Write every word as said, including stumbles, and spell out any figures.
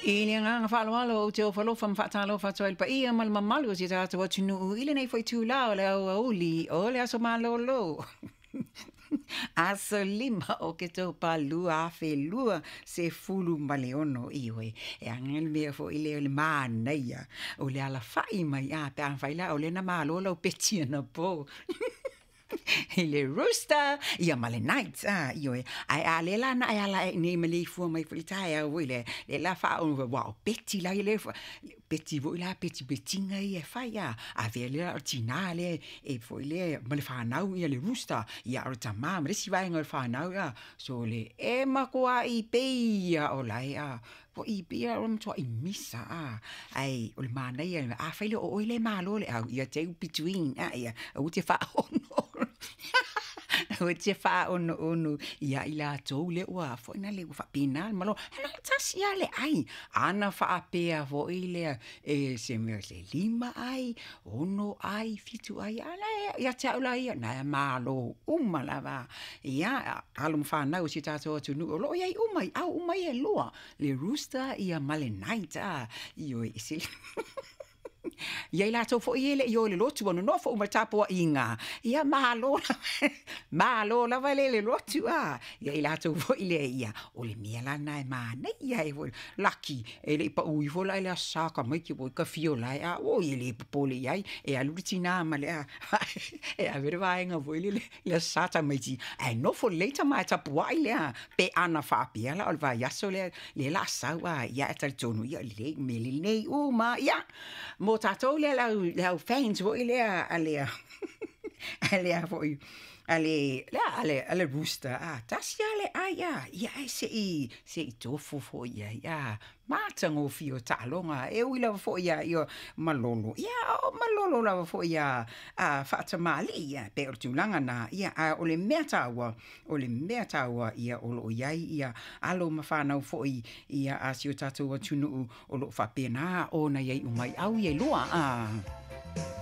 I le agaga faaaloalo ou te ofo alofa ma faatalofa atu ai i le paia ma le mamalu o si o tatou atunuu i lenei foi itulā o le aoauli o le aso malōlō aso lima o Oketopa lua afe lua sefulu ma le ono. Ioe, e aga le mea foi lea o le manaia o le alafai mai a pe afai la o lea na malo lau peti anapo i le rooster ia ma le night a, ioe, ae a lea la na e ala ae i inei maleifua mai foi i le taeao foi lea, lea la faaono aua o peti la ia peti foi la petipetiga ia e fai a, avea lea o le tinā lea e foi lea ma le fanau ia le rooster, ia a o le tamā ma le isi vaega o le fanau ia. So le e matuai pei lava o lae a, foi pei lava o le matuai misa a, ae o le manaia, afai loa o oe lea e malo le au, ia take between a, ia aua te faaono aua te faaonoono ia i latou lea ua foi na le ua faapena le malo, ae na o le tasi lava le ai. Ana faapea foi lea e se mea se lima ai, ono ai, fitu ai, a la e ia te au la ia, na e malo uma lava. Ia, alo ma fanau o si o tatou atunuu o lo o i ai uma i au uma ia e lua, le rooster ia ma le night a, ioe, e se ia i latou foi ia e le i o i le lotu, ua nonofo uma i le tapuaiga, ia malo lava, malo lava le le lotu a, ia i latou foi lea, ia, o le mea la lena e manaia ai foi, laki, e le i pau ifo la i le Aso Sa tamaiti ua ita fio lae a, oi e le popole i ai, e alu le tinā ma le a, e ave le vaega foi lele i le Aso Sa tamaiti, ae nofo lelei tama e tapuai lea, pe ana faapea la o le vaiaso lea lea o le a sau a, ia ae talitonu, ia lelei, mea lelei uma, ia, mo tatou lea le au, le au fans foi lea a le a le foi a le a le a le rooster a, tasi lava le ai a, ia ae se i se i tofo foi i ai a, matagofie o taaloga, e ui lava foi ia ia malolo, ia o malolo lava foi ia a faatamalii ia, pe o le tulaga na, ia, a o le mea taua, o le mea taua ia o lo o i ai ia alo ma fanau foi ia a si o tatou atunuu o lo o faapena ona i ai uma i au ia e lua a.